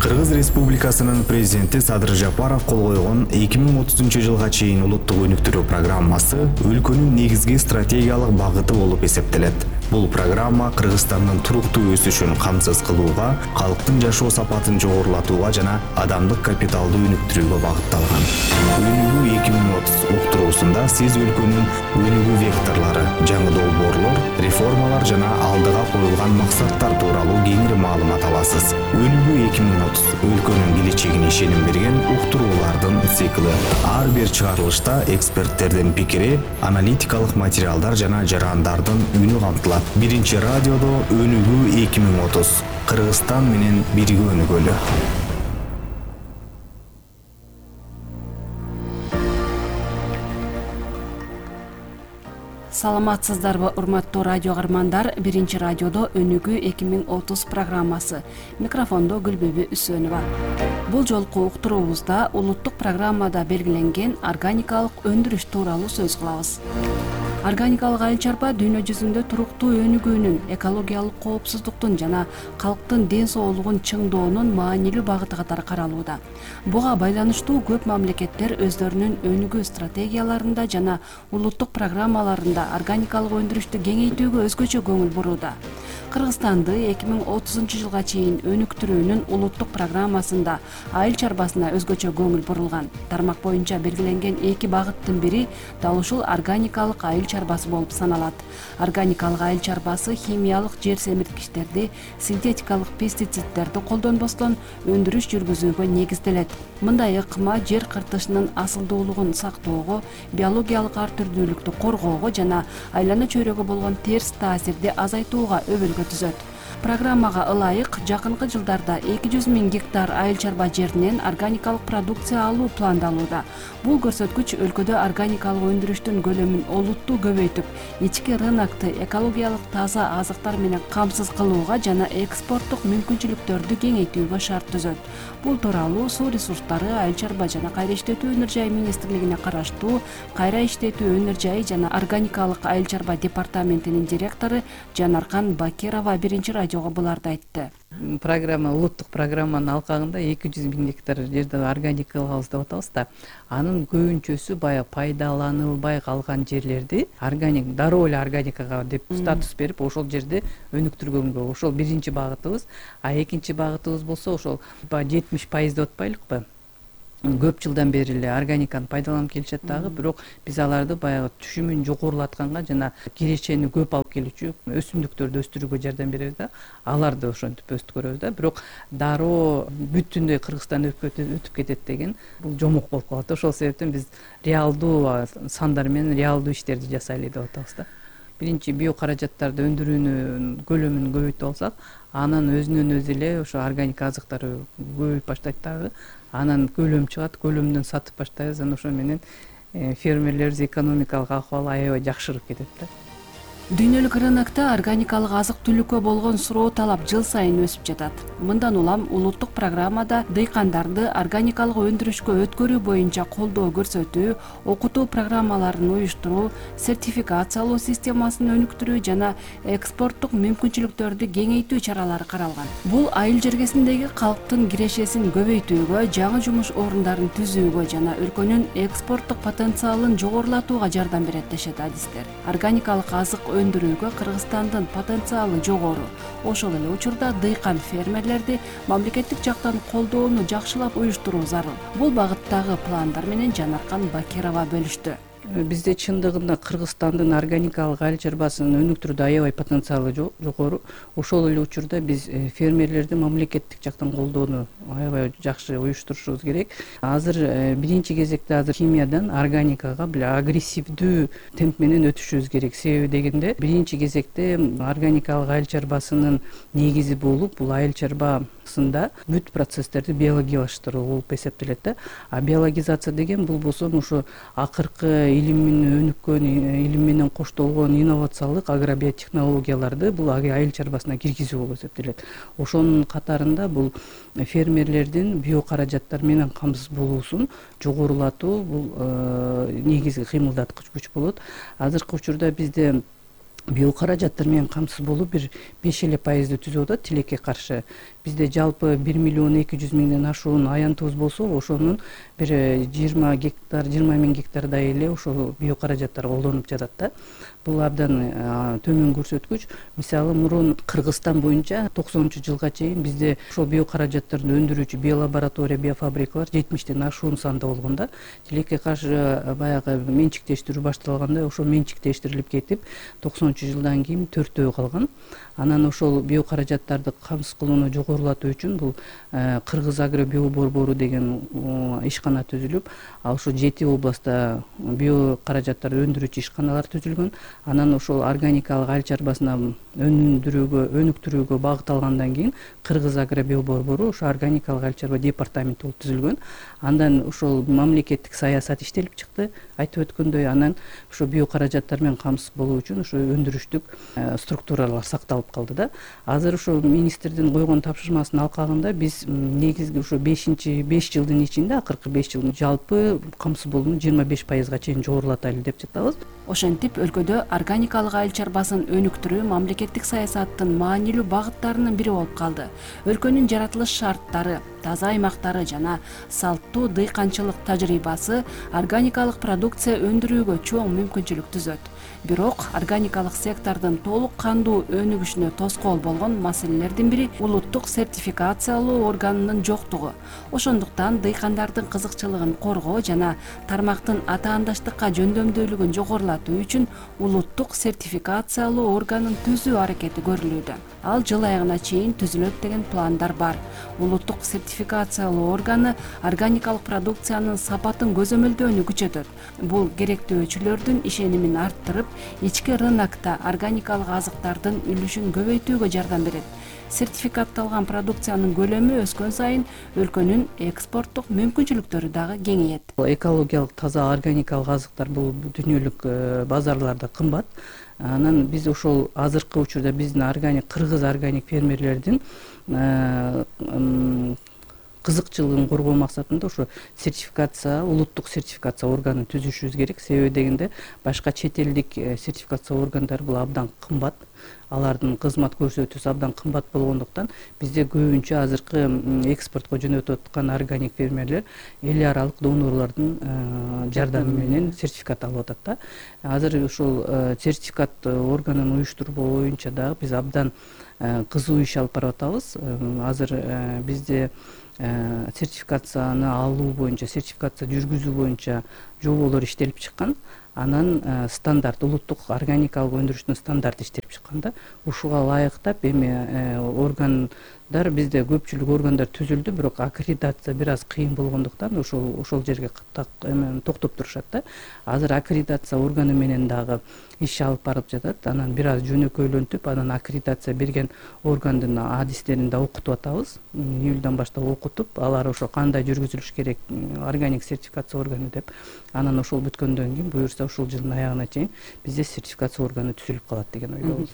Кыргыз Республикасынын президенти Садыр Жапаров кол койгон 2030 жылга чейин улуттук өнүктүрүү программасы өлкөнүн негизги стратегиялык багыты болуп эсептелет. Бул программа Кыргызстандын туруктуу өсүшүн камсыз кылууга, калктын жашоо сапатын жогорулатууга жана адамдык капиталды өнүктүрүүгө багытталган. Өнүгүү 2030 уктуруусунда сиз өлкөнүн өнүгүү векторлору, жаңы долбоорлор, реформалар жана алдыга коюлган максаттар тууралуу кеңири маалымат аласыз. Өнүгүү 2030 өлкөнүн келечегине ишеним берген уктуруулардын цикли. Ар бир чыгарылышта эксперттердин пикири, аналитикалык материалдар жана жарандардын үнү камтылат. Биринчи радиодо Өнүгүү 2030 Кыргызстан менен бирге өнүгөлү. Саламатсыздарбы, урматтуу радио каармандар. Биринчи радиодо Өнүгүү 2030 программасы. Микрофондо Гүлбүбү Үсөнова. Бул жолку уктуруубузда улуттук программада белгиленген органикалык өндүрүш тууралуу сөз кылабыз. Органикалык айыл чарба дүйнө жүзүндө туруктуу өнүгүүнүн, экологиялык коопсуздуктун жана калктын ден соолугун чыңдоонун маанилүү багыты катары каралууда. Буга байланыштуу көп мамлекеттер өздөрүнүн өнүгүү стратегияларында жана улуттук программаларында органикалык өндүрүштү кеңейтүүгө өзгөчө көңүл бурууда. Кыргызстанды 2030 жылга чейин өнүктүрүүнүн улуттук программасында айыл чарбасына өзгөчө көңүл бурулган. Тармак боюнча белгиленген эки багыттын бири дал ушул органикалык айыл чарбасы болуп саналат. Органикалык айыл чарбасы химиялык жер семирткичтерди, синтетикалык пестициддерди колдонбостон өндүрүш жүргүзүүгө негизделет. Мындай ыкма жер кыртышынын асылдуулугун сактоого, биологиялык ар түрдүүлүктү коргоого жана айлана чөйрөгө болгон терс таасирди азайтууга өбөлгө түзөт. Программага ылайык жакынкы жылдарда 200 000 гектар айыл чарба жеринен органикалык продукция алуу пландалууда. Бул көрсөткүч өлкөдө органикалык өндүрүштүн көлөмүн олуттуу көбөйтүп, ички рынокты экологиялык таза азыктар менен камсыз кылууга жана экспорттук мүмкүнчүлүктөрдү кеңейтүүгө шарт түзөт. Бул тууралуу Суу ресурстары, айыл чарба жана кайра иштетүү өнөр жай министрлигине караштуу кайра иштетүү өнөр жай жана органикалык айыл чарба департаментинин директору Жанаркан Бакирова биринчи радиого буларды айтты. Программа, улуттук программанын алкагында 200 000 гектар жерди органика кылабыз деп атабыз да. Анын көбүнчөсү баягы пайдаланылбай калган жерлерди дароо эле органикага деп статус берип, ошол жерди өнүктүргөнгө, ошол биринчи багытыбыз. А экинчи багытыбыз болсо ошол 70% деп атпайлыкпы? Көп жылдан бери эле органиканы пайдаланып келишет дагы, бирок биз аларды баягы түшүмүн жогорулатканга жана кирешени көп алып келүүчү өсүмдүктөрдү өстүрүүгө жардам беребиз да. Аларды ошентип өстүрөбүз да. Бирок дароо бүтүндөй Кыргызстан өтүп кетет деген бул жомок болуп калат. Ошол себептен биз реалдуу сандар менен реалдуу иштерди жасайлы деп атабыз да. Биринчи биокаражаттарды өндүрүүнүн көлөмүн көбөйтүп алсак, анан өзүнөн өзү эле ошо органика азыктар көбөйүп баштайт дагы. Анан көлөм чыгат, көлөмдөн сатып баштайбыз, анан ошо менен фермерлерибиз экономикалык акыбалы аябай жакшырып кетет да. Дүйнөлүк рынокто органикалык азык-түлүккө болгон суроо талап жыл сайын өсүп жатат. Мындан улам улуттук программада дыйкандарды органикалык өндүрүшкө өткөрүү боюнча колдоо көрсөтүү, окутуу программаларын уюштуруу, сертификациялоо системасын өнүктүрүү жана экспорттук мүмкүнчүлүктөрдү кеңейтүү чаралары каралган. Бул айыл жергесиндеги калктын кирешесин көбөйтүүгө, жаңы жумуш орундарын түзүүгө жана өлкөнүн экспорттук потенциалын жогорулатууга жардам берет дешет адистер. Органикалык азык өндүрүүгө Кыргызстандын потенциалы жогору. Ошол эле учурда дыйкан фермерлерди мамлекеттик жактан колдоону жакшылап уюштуруу зарыл. Бул багыттагы пландар менен Жанаркан Бакирова бөлүштү. Бизде чындыгында Кыргызстандын органикалык айыл чарбасын өнүктүрүүдө аябай потенциалы жогору. Ошол эле учурда биз фермерлерди мамлекеттик жактан колдоону аябай жакшы уюштурушубуз керек. Азыр биринчи кезекте химиядан органикага агрессивдүү темп менен өтүшүбүз керек. Себеби дегенде биринчи кезекте органикалык айыл чарбасынын негизи болуп, бул айыл чарбасында бүт процесстерди биологиялаштыруу болуп эсептелет да. А биологизация деген бул болсо ошо акыркы илимин өнүккөн, илим менен коштолгон инновациялык агробиотехнологияларды бул айыл чарбасына киргизүү болуп эсептелет. Ошонун катарында бул фермерлердин биокаражаттар менен камсыз болуусун жогорулатуу бул негизги кыймылдаткыч күч болот. Азыркы учурда бизде биокаражаттар менен камсыз болуп бир 5% түзүп атат тилекке каршы. бизде жалпы 1.200.000 ашуун аянтыбыз болсо, ошонун бир 20.000 гектардай эле ошол биокаражаттар колдонуп жатат да. Бул абдан төмөн көрсөткүч. Мисалы, мурун Кыргызстан боюнча 90-жылга чейин бизде ошол биокаражаттарды өндүрүүчү биолаборатория, биофабрикалар 70тен ашуун санда болгон да. Тилекке каршы баягы менчиктештирүү башталганда ошол менчиктештирилип кетип, 90-жылдан кийин 4-өө калган. Анан ошол биокаражаттарды камсыз кылууну жогорулатуу үчүн бул Кыргыз агро биоборбору деген ишкана түзүлүп, ошо 7 областта биокаражаттарды өндүрүүчү ишканалар түзүлгөн. Анан ошол органикалык айыл чарбасына өнүктүрүүгө багытталгандан кийин Кыргыз агро биоборбору ошо органикалык айыл чарба департаменти болуп түзүлгөн. Андан ошол мамлекеттик саясат иштелип чыкты, айтып өткөндөй. Анан ошо биокаражаттар менен камсыз болуу үчүн ошо өндүрүштүк структуралар сакталып калды да. Азыр ошо министрдин койгон тапшырмасынын алкагында биз негизги ошо 5 жылдын ичинде, акыркы 5 жылдын жалпы камсыз болууну 25%га чейин жогорулатайлы деп жатабыз. Ошентип өлкөдө органикалык айыл чарбасын өнүктүрүү мамлекеттик саясаттын маанилүү багыттарынын бири болуп калды. Өлкөнүн жаратылыш шарттары, таза аймактары жана салттуу дыйканчылык тажрыйбасы органикалык продукция өндүрүүгө чоң мүмкүнчүлүк түзөт. Бирок органикалык сектордун толук кандуу өнүгүшүнө тоскоол болгон маселелердин бири улуттук сертификациялоо органынын жоктугу. Ошондуктан дыйкандардын кызыкчылыгын коргоо жана тармактын атаандаштыкка жөндөмдүүлүгүн жогорулатуу үчүн улуттук сертификациялоо органын түзүү аракети көрүлүүдө. Ал жыл аягына чейин түзүлөт деген пландар бар. Улуттук сертификациялоо органы органикалык продукциянын сапатын көзөмөлдөөнү күчөтөт. Бул керектөөчүлөрдүн ишенимин арттырып, ички рынокто органикалык азыктардын үлүшүн көбөйтүүгө жардам берет. Сертификатталган продукциянын көлөмү өскөн сайын өлкөнүн экспорттук мүмкүнчүлүктөрү дагы кеңейет. Экологиялык таза органикалык азыктар бул дүйнөлүк базарларда кымбат. Анан биз ошол азыркы учурда биздин кыргыз органик фермерлердин кызыкчылыгын коргоо максатында ошо улуттук сертификация органын түзүшүбүз керек. Себеби дегенде башка чет элдик сертификация органдары бул абдан кымбат. Алардын кызмат көрсөтүүсү абдан кымбат болгондуктан бизде көбүнчө азыркы экспортко жөнөтүп аткан органик фермерлер эл аралык донорлордун жардамы менен сертификат алып атат да. Азыр ушул сертификат органын уюштуруу боюнча дагы биз абдан кызуу иш алып барып атабыз. Азыр бизде сертификацияны алуу боюнча, сертификация жүргүзүү боюнча жоболор иштелип чыккан. Анан стандарт, улуттук органикалык өндүрүштүн стандарты иштелип чыккан да. Ушуга ылайыктап эми органдар бизде көпчүлүк органдар түзүлдү, бирок аккредитация бир аз кыйын болгондуктан ошол жерге токтоп турушат да. Азыр аккредитация органы менен дагы иш алып барып жатат. Анан бир аз жөнөкөйлөнтүп, анан аккредитация берген органдын адистерин да окутуп атабыз. Июлдан баштап окутуп, алар ошо кандай жүргүзүлүш керек органик сертификация органы деп. Анан ошол бүткөндөн кийин буюрса ушул жылдын аягына чейин бизде сертификация органы түзүлүп калат деген ойдобуз.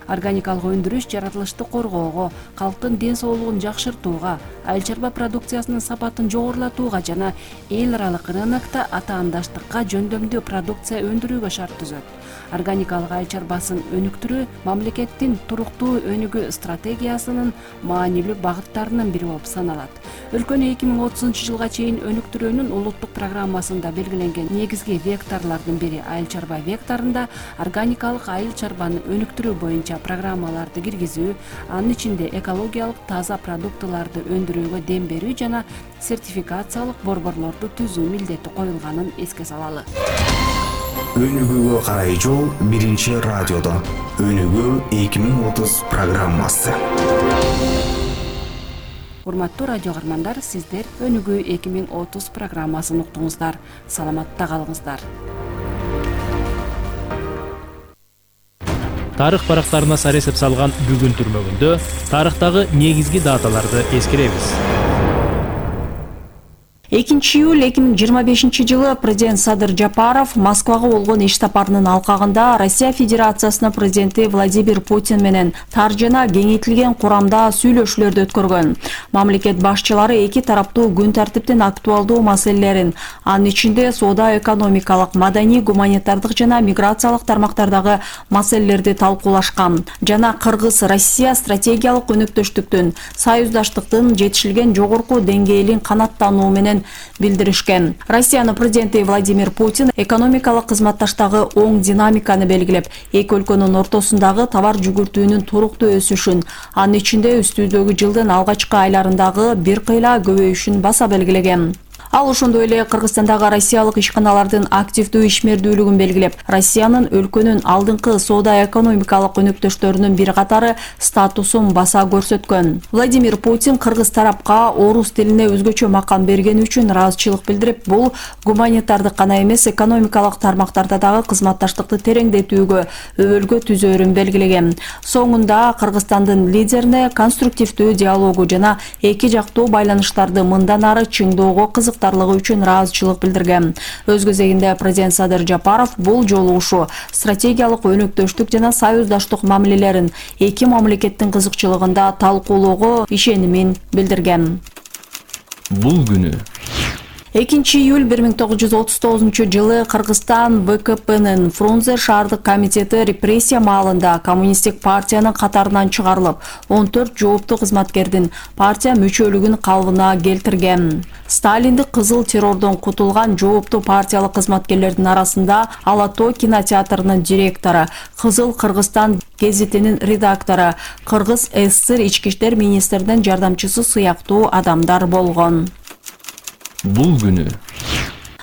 Органикалык өндүрүш жаратылышты коргоого, калктын ден соолугун жакшыртууга, айыл чарба продукциясынын сапатын жогорулатууга жана эл аралык рынокто атаандаштыкка жөндөмдүү продукция өндүрүүгө шарт түзөт. Органикалык айыл чарбасын өнүктүрүү мамлекеттин туруктуу өнүгүү стратегиясынын маанилүү багыттарынын бири болуп саналат. Өлкөнү 2030-жылга чейин өнүктүрүүнүн улуттук программасында белгиленген негизги векторлордун бири айыл чарба векторунда органикалык айыл чарбаны өнүктүрүү боюнча программаларды киргизүү, анын ичинде экологиялык таза продуктыларды өндүрүүгө дем берүү жана сертификациялык борборлорду түзүү милдети коюлганын эске салалы. Өнүгүүгө карай жол биринчи радиодо. Өнүгүү 2030 программасы. Урматтуу радио каармандар, сиздер Өнүгүү 2030 программасын уктуңуздар. Саламатта калыңыздар. Тарых барактарына саресеп салган бүгүн түрмөгүндө тарыхтагы негизги даталарды эскеребиз. 2 июль 2025-жылы президент Садыр Жапаров Москвага болгон иш сапарынын алкагында Россия Федерациясынын президенти Владимир Путин менен тар жана кеңейтилген курамда сүйлөшүүлөрдү өткөргөн. Мамлекет башчылары эки тараптуу күн тартиптин актуалдуу маселелерин, анын ичинде соода, экономикалык, маданий, гуманитардык жана миграциялык тармактардагы маселелерди талкуулашкан жана Кыргыз-Россия стратегиялык өнөктөштүктүн, союздаштыктын жетишилген жогорку деңгээлин канаттануу менен билдиришкен. Россиянын президенти Владимир Путин экономикалык кызматташтагы оң динамиканы белгилеп, эки өлкөнүн ортосундагы товар жүгүртүүнүн туруктуу өсүшүн, анын ичинде үстүдөгү жылдын алгачкы айларындагы бир кыйла көбөйүшүн баса белгилеген. Ал ошондой эле Кыргызстандагы россиялык ишканалардын активдүү ишмердүүлүгүн белгилеп, Россиянын өлкөнүн алдыңкы соода экономикалык өнөктөштөрүнүн бир катары статусун баса көрсөткөн. Владимир Путин кыргыз тарапка орус тилине өзгөчө макам бергени үчүн ыраазычылык билдирип, бул гуманитардык гана эмес, экономикалык тармактарда дагы кызматташтыкты тереңдетүүгө өбөлгө түзөөрүн белгилеген. Соңунда Кыргызстандын лидерине конструктивдүү диалогу жана эки жактуу байланыштарды мындан ары чыңдоого үчүн ыраазычылык билдирген. Өз кезегинде президент Садыр Жапаров бул жолугушуу стратегиялык өнөктөштүк жана союздаштык мамилелерин эки мамлекеттин кызыкчылыгында талкуулоого ишенимин билдирген. Бул күнү 2 июль 1939 Кыргызстан ВКПнын Фрунзе шаардык комитети репрессия маалында коммунисттик партиянын катарынан чыгарылып, 14 жооптуу кызматкердин партия мүчөлүгүн калыбына келтирген. Сталиндик кызыл террордон кутулган жооптуу партиялык кызматкерлердин арасында Ала Тоо кинотеатрынын директору, Кызыл Кыргызстан гезитинин редактору, Кыргыз ССР ички иштер министринин жардамчысы сыяктуу адамдар болгон. Бул күнү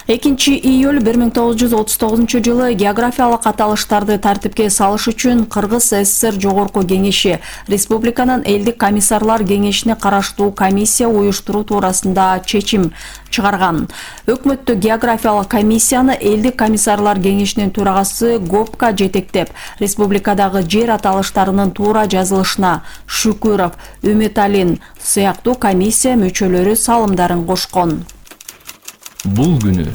2 июль 1939 жылы географиялык аталыштарды тартипке салыш үчүн Кыргыз ССР Жогорку кеңеши республиканын элдик комиссарлар кеңешине караштуу комиссия уюштуруу туурасында чечим чыгарган. Өкмөттүк географиялык комиссияны элдик комиссарлар кеңешинин төрагасы Гопка жетектеп, республикадагы жер аталыштарынын туура жазылышына Шүкүров, Үмүталин сыяктуу комиссия мүчөлөрү салымдарын кошкон. Бул күнү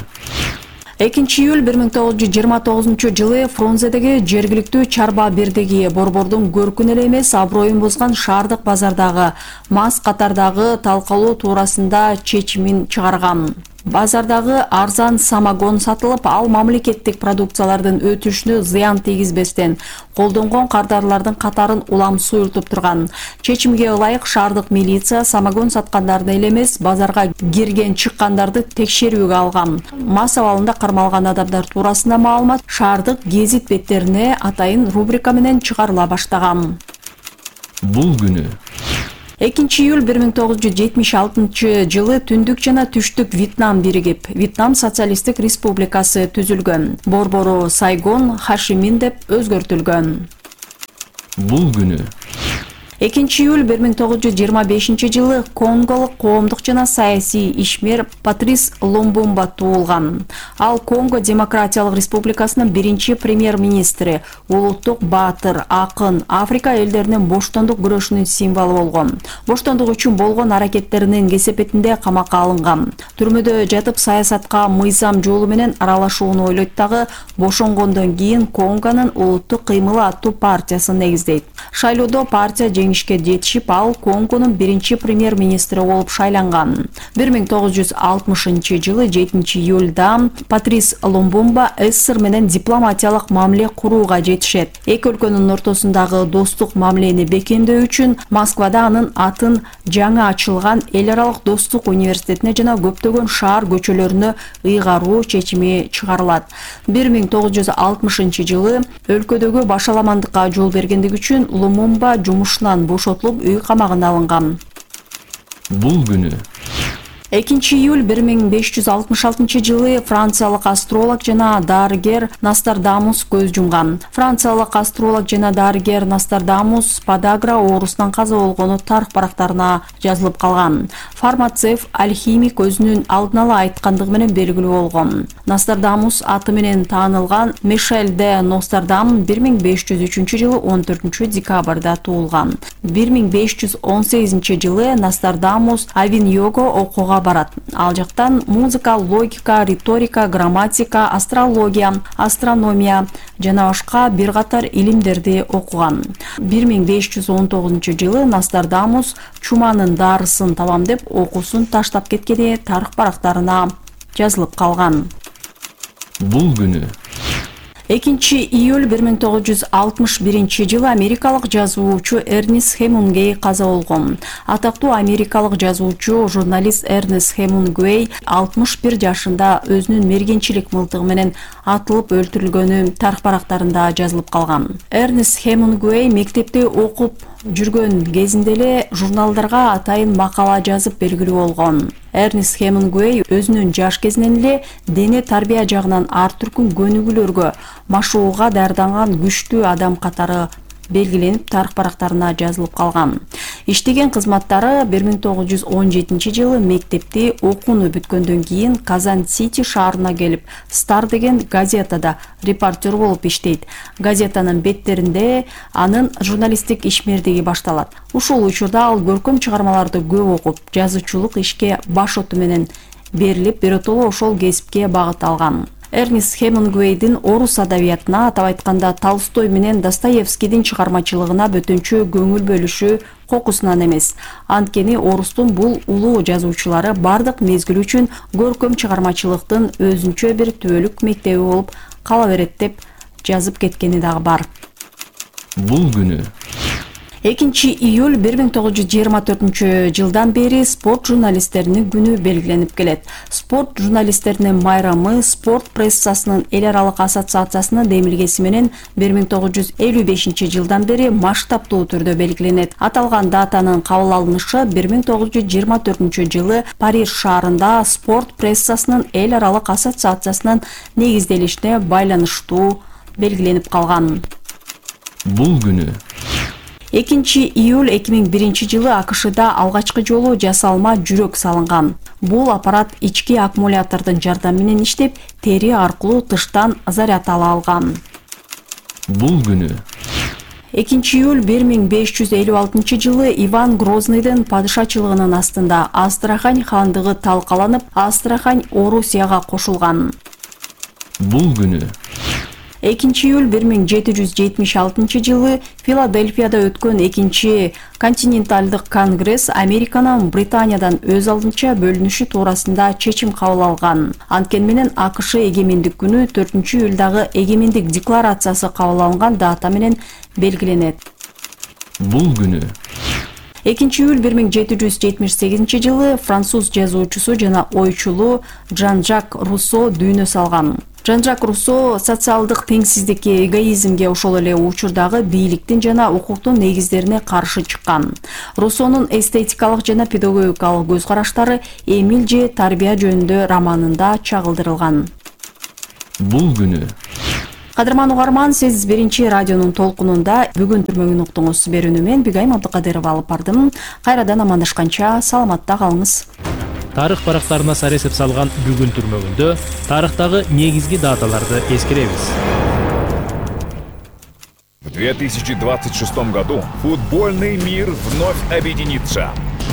2 июль 1929 жылы Фрунзедеги жергиликтүү чарба бирдиги борбордун көркүн эле эмес, аброюн бузган шаардык базардагы мас катардагы талкалоо туурасында чечимин чыгарган. Базардагы арзан самогон сатылып, ал мамлекеттик продукциялардын өтүшүнө зыян тийгизбестен колдонгон кардарлардын катарын улам суйртуп турган. Чечимге ылайык шаардык милиция самогон саткандарды эле эмес, базарга кирген чыккандарды текшерүүгө алган. Мас абалында кармалган адамдар туурасында маалымат шаардык гезит беттерине атайын рубрика менен чыгарыла баштаган. Бул күнү 2 июль 1976 жылы түндүк жана түштүк Вьетнам биригип, Вьетнам социалисттик республикасы түзүлгөн. Борбору Сайгон Хашимин деп өзгөртүлгөн. Бул күнү 2 июль 1925 жылы конголук коомдук жана саясий ишмер Патрис Лумбумба туулган. Ал Конго Демократиялык Республикасынын биринчи премьер-министри, улуттук баатыр, акын, Африка элдеринин боштондук күрөшүнүн символу болгон. Боштондук үчүн болгон аракеттеринин кесепетинде камакка алынган. Түрмөдө жатып саясатка мыйзам жолу менен аралашууну ойлойт дагы, бошонгондон кийин Конгонун улуттук кыймылы аттуу партиясын негиздейт. Шайлоодо партия жеңишке жетишип, ал Конгонун биринчи премьер-министри болуп шайланган. 1960 жылы 7 июлда Патрис Лумбумба СССР менен дипломатиялык мамиле курууга жетишет. Эки өлкөнүн ортосундагы достук мамилени бекемдөө үчүн Москвада анын атын жаңы ачылган Эл аралык достук университетине жана көптөгөн шаар көчөлөрүнө ыйгаруу чечими чыгарылат. 1960 жылы өлкөдөгү башаламандыкка жол бергендиги үчүн Лумумба жумушунан бошотулуп үй камагына алынган. Бул күнү 2 июль 1566 жылы франциялык астролог жана дарыгер Нострадамус көз жумган. Франциялык астролог жана дарыгер Нострадамус подагра оорусунан каза болгону тарых барактарына жазылып калган. Фармацевт, алхимик өзүнүн алдын ала айткандыгы менен белгилүү болгон. Нострадамус аты менен таанылган Мишель де Нострадам 1503 жылы 14 декабрда туулган. 1518 жылы Нострадамус Авинього окууга окууга барат. Ал жактан музыка, логика, риторика, грамматика, астрология, астрономия жана башка бир катар илимдерди окуган. 1519-жылы Нострадамус чуманын дарысын табам деп окуусун таштап кеткени тарых барактарына жазылып калган. Бул күнү 2-июль 1961-жылы америкалык жазуучу Эрнест Хемингуэй каза болгон. Атактуу америкалык жазуучу, журналист Эрнест Хемингуэй 61 жашында өзүнүн мергенчилик мылтыгы менен атылып өлтүрүлгөнү тарых барактарында жазылып калган. Эрнест Хемингуэй мектепте окуп жүргөн кезинде эле журналдарга атайын макала жазып белгилүү болгон. Эрнест Хемингуэй өзүнүн жаш кезинен эле дене тарбия жагынан ар түркүн көнүгүүлөргө, машыгууга даярданган күчтүү адам катары белгиленип тарых барактарына жазылып калган. Иштеген кызматтары 1917-жылы мектепти окууну бүткөндөн кийин Казан-Сити шаарына келип, Стар деген газетада репортер болуп иштейт. Газетанын беттеринде анын журналисттик ишмердиги башталат. Ушул учурда ал көркөм чыгармаларды көп окуп, жазуучулук ишке баш оту менен берилип, биротоло ошол кесипке багыт алган. Эрнест Хемингуэйдин орус адабиятына, атап айтканда Толстой менен Достоевскийдин чыгармачылыгына бөтөнчө көңүл бөлүшү кокусунан эмес. Анткени орустун бул улуу жазуучулары бардык мезгил үчүн көркөм чыгармачылыктын өзүнчө бир түбөлүк мектеби болуп кала берет деп жазып кеткени дагы бар. Бул күнү 2-июль 1924-жылдан бери спорт журналисттеринин күнү белгиленип келет. Спорт журналисттеринин майрамы спорт прессасынын эл аралык ассоциациясынын демилгеси менен 1955-жылдан бери масштабтуу түрдө белгиленет. Аталган датанын кабыл алынышы 1924-жылы Париж шаарында спорт прессасынын эл аралык ассоциациясынын негизделишине байланыштуу белгиленип калган. Бул күнү 2-июль 2001-жылы АКШда алгачкы жолу жасалма жүрөк салынган. Бул аппарат ички аккумулятордун жардамы менен иштеп, тери аркылуу тыштан заряд ала алган. Бул күнү 2-июль 1556-жылы Иван Грозныйдын падышачылыгынын астында Астрахань хандыгы талкаланып, Астрахань Орусияга кошулган. Бул күнү 2-июль 1776-жылы Филадельфияда өткөн 2-чи континенталдык конгресс Американын Британиядан өз алдынча бөлүнүшү туурасында чечим кабыл алган. Анткени менен АКШ эгемендик күнү 4-июлдагы эгемендик декларациясы кабыл алынган дата менен белгиленет. Бул күнү 2-июль 1778-жылы француз жазуучусу жана ойчулу Жан-Жак Руссо дүйнө салган. Жан-Жак Руссо социалдык теңсиздикке, эгоизмге, ошол эле учурдагы бийликтин жана укуктун негиздерине каршы чыккан. Руссонун эстетикалык жана педагогикалык көз караштары Эмиль же тарбия жөнүндө романында чагылдырылган. Бул күнү Кадырман угарман, сиз биринчи радионун толкунунда бүгүн түрмөгүн уктуңуз. Берүүнү мен Бигайым Абдыкадырова алып бардым. Кайрадан амандашканча саламатта калыңыз. Тарых барактарына саресеп салган бүгүн түрмөгүндө тарыхтагы негизги даталарды эскеребиз. В 2026 году футбольный мир вновь объединится.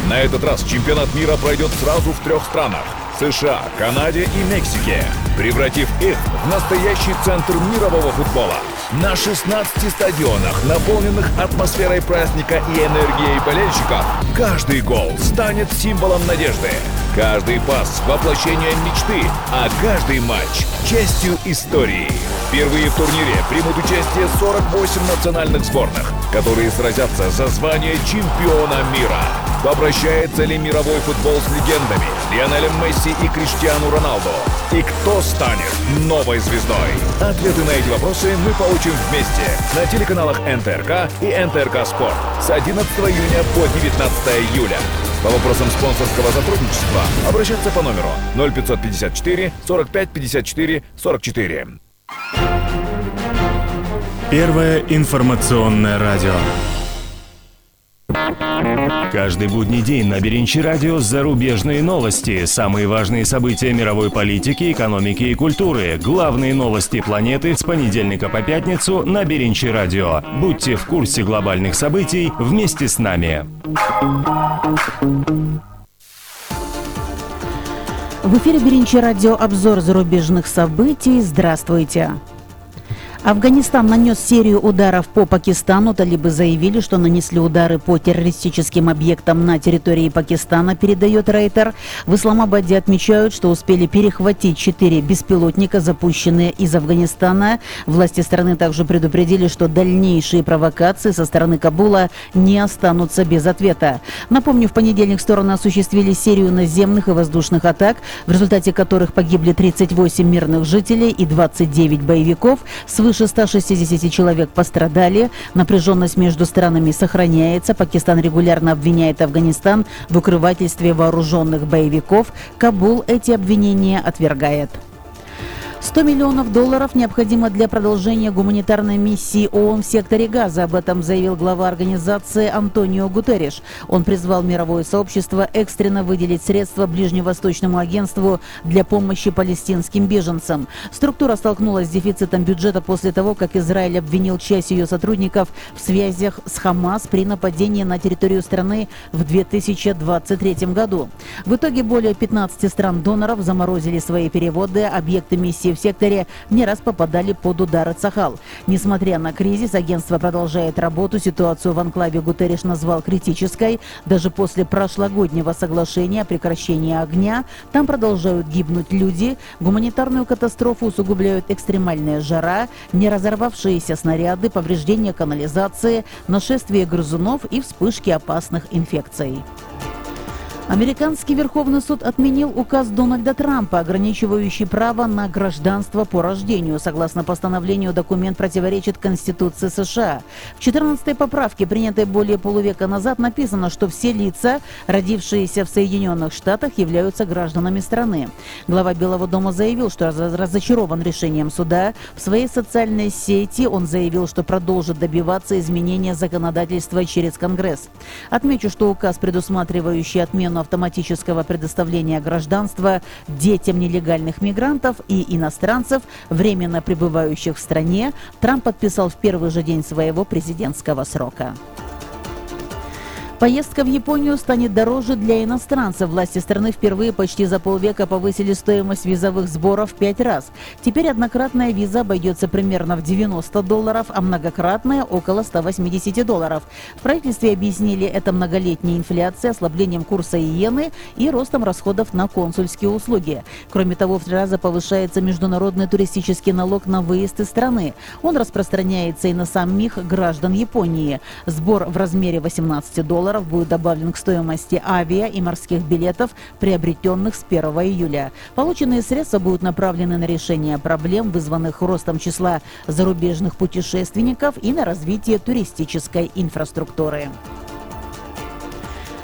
На этот раз чемпионат мира пройдет сразу в 3 странах – США, Канаде и Мексике, превратив их в настоящий центр мирового футбола. На 16 стадионах, наполненных атмосферой праздника и энергией болельщиков, каждый гол станет символом надежды. Каждый пас – воплощением мечты, а каждый матч – частью истории. Впервые в турнире примут участие 48 национальных сборных, которые сразятся за звание чемпиона мира. Попрощается ли мировой футбол с легендами Лионелем Месси и Криштиану Роналду? И кто станет новой звездой? Ответы на эти вопросы мы получим вместе на телеканалах НТРК и НТРК Спорт с 11 июня по 19 июля. По вопросам спонсорского сотрудничества обращаться по номеру 0554 45 54 44. Первое информационное радио. Каждый будний день на Беринчи радио зарубежные новости, самые важные события мировой политики, экономики и культуры, главные новости планеты с понедельника по пятницу на Беринчи радио. Будьте в курсе глобальных событий вместе с нами. В эфире «Биринчи радио», обзор зарубежных событий. Здравствуйте. Афганистан нанес серию ударов по Пакистану. Талибы заявили, что нанесли удары по террористическим объектам на территории Пакистана, передает Рейтер. В Исламабаде отмечают, что успели перехватить 4 беспилотника, запущенные из Афганистана. Власти страны также предупредили, что дальнейшие провокации со стороны Кабула не останутся без ответа. Напомню, в понедельник стороны осуществили серию наземных и воздушных атак, в результате которых погибли 38 мирных жителей и 29 боевиков. Свыше 160 человек пострадали. Напряженность между странами сохраняется. Пакистан регулярно обвиняет Афганистан в укрывательстве вооруженных боевиков. Кабул эти обвинения отвергает. $100 миллионов необходимо для продолжения гуманитарной миссии ООН в секторе Газа. Об этом заявил глава организации Антонио Гутерриш. Он призвал мировое сообщество экстренно выделить средства Ближневосточному агентству для помощи палестинским беженцам. Структура столкнулась с дефицитом бюджета после того, как Израиль обвинил часть ее сотрудников в связях с Хамас при нападении на территорию страны в 2023 году. В итоге более 15 стран-доноров заморозили свои переводы. Объекты миссии в секторе не раз попадали под удары Цахал. Несмотря на кризис, агентство продолжает работу. Ситуацию в анклаве Гутерриш назвал критической. Даже после прошлогоднего соглашения о прекращении огня там продолжают гибнуть люди. Гуманитарную катастрофу усугубляют экстремальная жара, не разорвавшиеся снаряды, повреждения канализации, нашествие грызунов и вспышки опасных инфекций. Американский Верховный суд отменил указ Дональда Трампа, ограничивающий право на гражданство по рождению. Согласно постановлению, документ противоречит Конституции США. В 14-й поправке, принятой более полувека назад, написано, что все лица, родившиеся в Соединенных Штатах, являются гражданами страны. Глава Белого дома заявил, что разочарован решением суда. В своей социальной сети он заявил, что продолжит добиваться изменения законодательства через Конгресс. Отмечу, что указ, предусматривающий отмену автоматического предоставления гражданства детям нелегальных мигрантов и иностранцев, временно пребывающих в стране, Трамп подписал в первый же день своего президентского срока. Поездка в Японию станет дороже для иностранцев. Власти страны впервые почти за полвека повысили стоимость визовых сборов в 5 раз. Теперь однократная виза обойдется примерно в $90, а многократная – около $180. В правительстве объяснили это многолетней инфляцией, ослаблением курса иены и ростом расходов на консульские услуги. Кроме того, в 3 раза повышается международный туристический налог на выезд из страны. Он распространяется и на самих граждан Японии. Сбор в размере $18 будет добавлен к стоимости авиа и морских билетов, приобретенных с 1 июля. Полученные средства будут направлены на решение проблем, вызванных ростом числа зарубежных путешественников, и на развитие туристической инфраструктуры.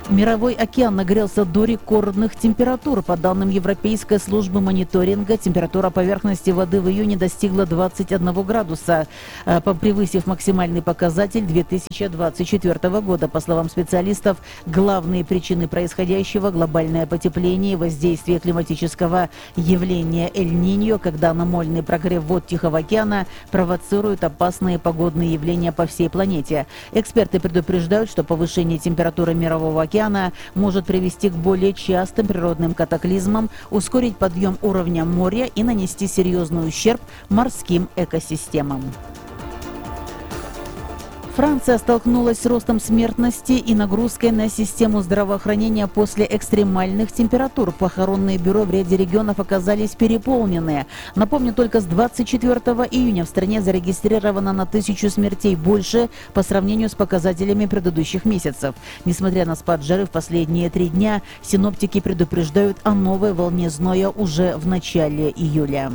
Мировой океан нагрелся до рекордных температур. По данным Европейской службы мониторинга, температура поверхности воды в июне достигла 21 градуса, превысив максимальный показатель 2024 года. По словам специалистов, главные причины происходящего – глобальное потепление и воздействие климатического явления Эль-Ниньо, когда аномальный прогрев вод Тихого океана провоцирует опасные погодные явления по всей планете. Эксперты предупреждают, что повышение температуры Мирового океана может привести к более частым природным катаклизмам, ускорить подъем уровня моря и нанести серьезный ущерб морским экосистемам. Франция столкнулась с ростом смертности и нагрузкой на систему здравоохранения после экстремальных температур. Похоронные бюро в ряде регионов оказались переполнены. Напомню, только с 24 июня в стране зарегистрировано на 1000 смертей больше по сравнению с показателями предыдущих месяцев. Несмотря на спад жары в последние 3 дня, синоптики предупреждают о новой волне зноя уже в начале июля.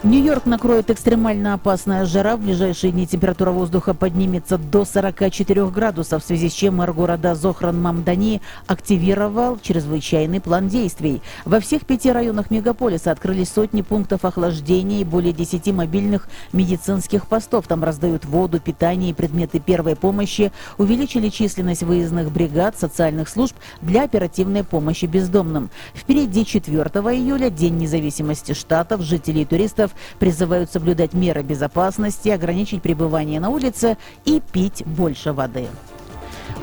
Нью-Йорк накроет экстремально опасная жара. В ближайшие дни температура воздуха поднимется до 44 градусов, в связи с чем мэр города Зохран Мамдани активировал чрезвычайный план действий. Во всех 5 районах мегаполиса открылись сотни пунктов охлаждения и более 10 мобильных медицинских постов. Там раздают воду, питание и предметы первой помощи. Увеличили численность выездных бригад социальных служб для оперативной помощи бездомным. Впереди 4 июля, День независимости штатов. Жителей и туристов призывают соблюдать меры безопасности, ограничить пребывание на улице и пить больше воды.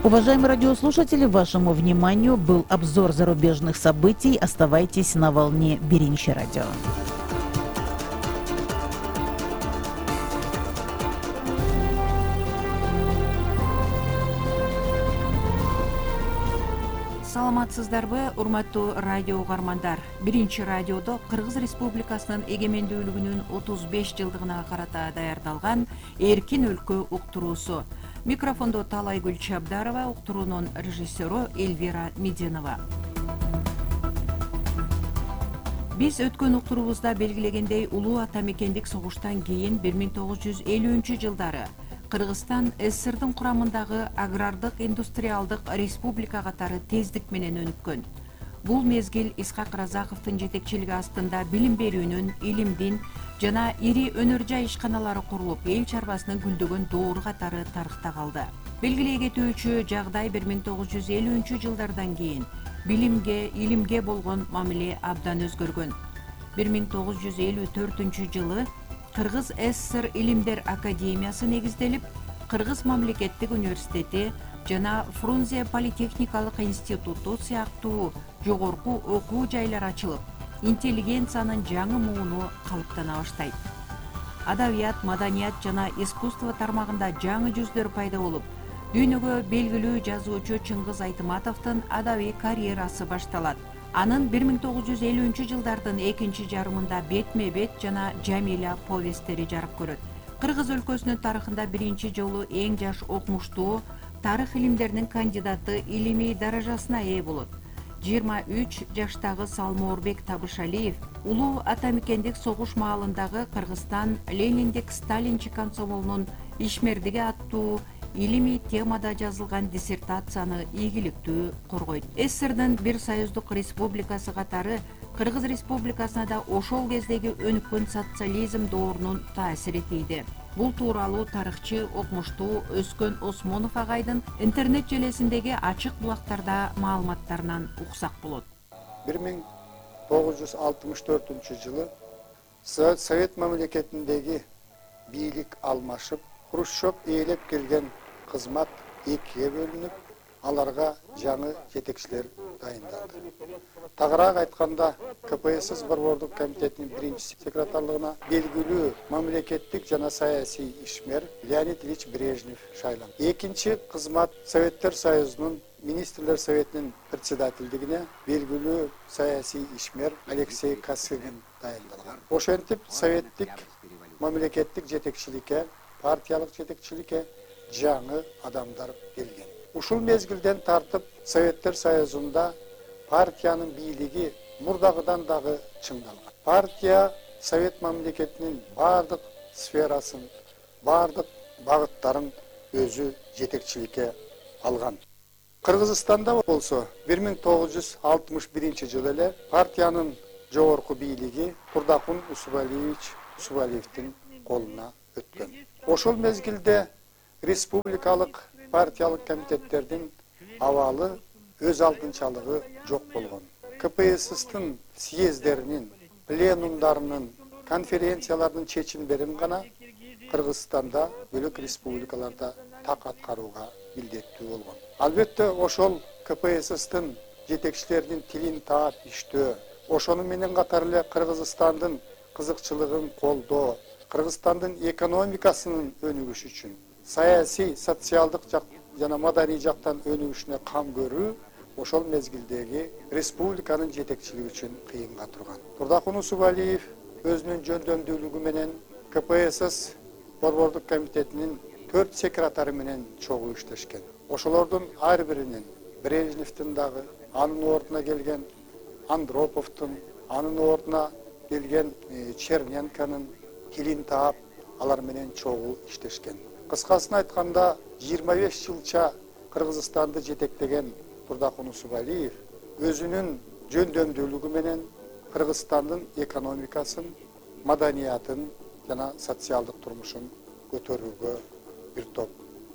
Уважаемые радиослушатели, вашему вниманию был обзор зарубежных событий. Оставайтесь на волне Биринчи радио. Саламатсыздарбы, урматтуу радио угармандар. Биринчи радиодо Кыргыз Республикасынын эгемендүүлүгүнүн 35 жылдыгына карата даярдалган Эркин өлкө уктуруусу. Микрофондо Талайгүл Чабдарова, уктуруунун режиссеру Эльвира Мединова. Биз өткөн уктуруубузда белгилегендей, улуу ата мекендик согуштан кийин 1950-жылдары Кыргызстан СССРдын курамындагы агрардык индустриалдык республика катары тездик менен өнүккөн. Бул мезгил Исхак Разаковдун жетекчилиги астында билим берүүнүн, илимдин жана ири өнөр жай ишканалары курулуп, эл чарбасынын гүлдөгөн доору катары тарыхта калды. Белгилей кетүүчү жагдай 1950-жылдардан кийин билимге, илимге болгон мамиле абдан өзгөргөн. 1954-жылы Кыргыз СССР Илимдер академиясы негизделип, Кыргыз мамлекеттик университети жана Фрунзе политехникалык институту сыяктуу жогорку окуу жайлар ачылып, интеллигенциянын жаңы мууну калыптана баштайт. Адабият, маданият жана искусство тармагында жаңы жүздөр пайда болуп, дүйнөгө белгилүү жазуучу Чыңгыз Айтматовдун адабий карьерасы башталат. Анын 1950-жылдардын экинчи жарымында Бетме-бет жана Жамиля повесттери жарык көрөт. Кыргыз өлкөсүнүн тарыхында биринчи жолу эң жаш окумуштуу тарых илимдеринин кандидаты илимий даражасына ээ болот. 23 жаштагы Салмоорбек Табышалиев улуу ата мекендик согуш маалындагы Кыргызстан Лениндик Сталинчи комсомолунун ишмердиги аттуу илимий темада жазылган диссертацияны ийгиликтүү коргойт. СССРдин бир союздук республикасы катары Кыргыз Республикасына да ошол кездеги өнүккөн социализм доорунун таасири тийди. Бул тууралуу тарыхчы, окумуштуу Өскөн Осмонов агайдын интернет желесиндеги ачык булактарда маалыматтарынан уксак болот. 1964-жылы Совет мамлекетиндеги бийлик алмашып, Хрущев ээлеп келген кызмат экиге бөлүнүп, аларга жаңы жетекчилер дайындалды. Тагыраак айтканда, КПСС Борбордук комитетинин биринчи секретарлыгына белгилүү мамлекеттик жана саясий ишмер Леонид Ильич Брежнев шайланды. Экинчи кызмат Советтер Союзунун Министрлер Советинин председательдигине белгилүү саясий ишмер Алексей Косыгин дайындалган. Ошентип советтик мамлекеттик жетекчиликке, партиялык жетекчиликке жаңы адамдар келген. Ушул мезгилден тартып Советтер Союзунда партиянын бийлиги мурдагыдан дагы чыңдалган. Партия Совет мамлекетинин бардык сферасын, бардык багыттарын өзү жетекчиликке алган. Кыргызстанда болсо 1961-жылы эле партиянын жогорку бийлиги Курдакун Усубалиевдин колуна өткөн. Ошол мезгилде республикалык партиялык комитеттердин абалы өз алдынчалыгы жок болгон. КПССтин съездеринин, пленумдарынын, конференциялардын чечимдерин гана Кыргызстанда бөлөк республикаларда так аткарууга милдеттүү болгон. Албетте ошол КПССтин жетекчилеринин тилин таап иштөө, ошону менен катар эле Кыргызстандын кызыкчылыгын колдоо, Кыргызстандын экономикасынын өнүгүшү үчүн, саясий, социалдык жана маданий жактан өнүгүшүнө кам көрүү ошол мезгилдеги республиканын жетекчилиги үчүн кыйынга турган. Турдакун Усубалиев өзүнүн жөндөмдүүлүгү менен КПСС Борбордук комитетинин 4 секретары менен чогуу иштешкен. Ошолордун ар биринин Брежневдин дагы, анын ордуна келген Андроповдун, анын ордуна келген Черненконун тилин таап, алар менен чогуу иштешкен. Кыскасын айтканда, 25 жылча Кыргызстанды жетектеген Турдакун Усубалиев өзүнүн жөндөмдүүлүгү менен Кыргызстандын экономикасын, маданиятын жана социалдык турмушун көтөрүүгө бир топ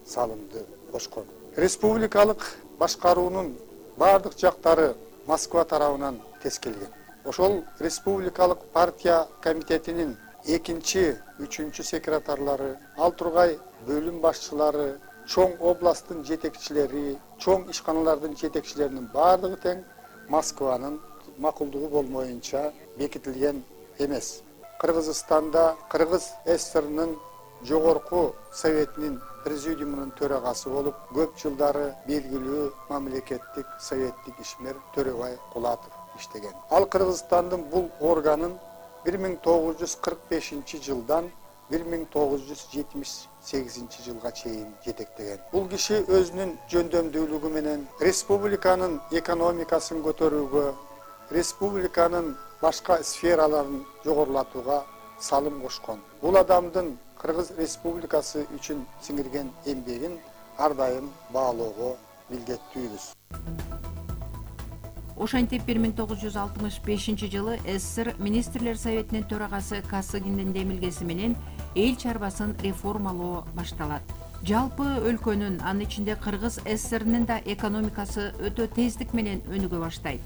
салымды кошкон. Республикалык башкаруунун бардык жактары Москва тарабынан тескелген. Ошол республикалык партия комитетинин экинчи, үчүнчү секретарлары, ал тургай бөлүм башчылары, чоң областтын жетекчилери, чоң ишканалардын жетекчилеринин баардыгы тең Москванын макулдугу болмоюнча бекитилген эмес. Кыргызстанда Кыргыз ССРнын жогорку советинин президиумунун төрагасы болуп, көп жылдары белгилүү мамлекеттик советтик ишмер Төрөбай Кулатов иштеген. Ал Кыргызстандын бул органын 1945 жылдан 1978 жылга чейин жетектеген. Бул киши өзүнүн жөндөмдүүлүгү менен республиканын экономикасын көтөрүүгө, республиканын башка сфераларын жогорулатууга салым кошкон. Бул адамдын Кыргыз Республикасы үчүн сиңирген эмгегин ар дайым баалоого милдеттүүбүз. Ошентип 1965 жылы СССР Министрлер Советинин төрагасы Касыгиндин демилгеси менен эл чарбасын реформалоо башталат. Жалпы өлкөнүн, анын ичинде Кыргыз СССРнин да экономикасы өтө тездик менен өнүгө баштайт.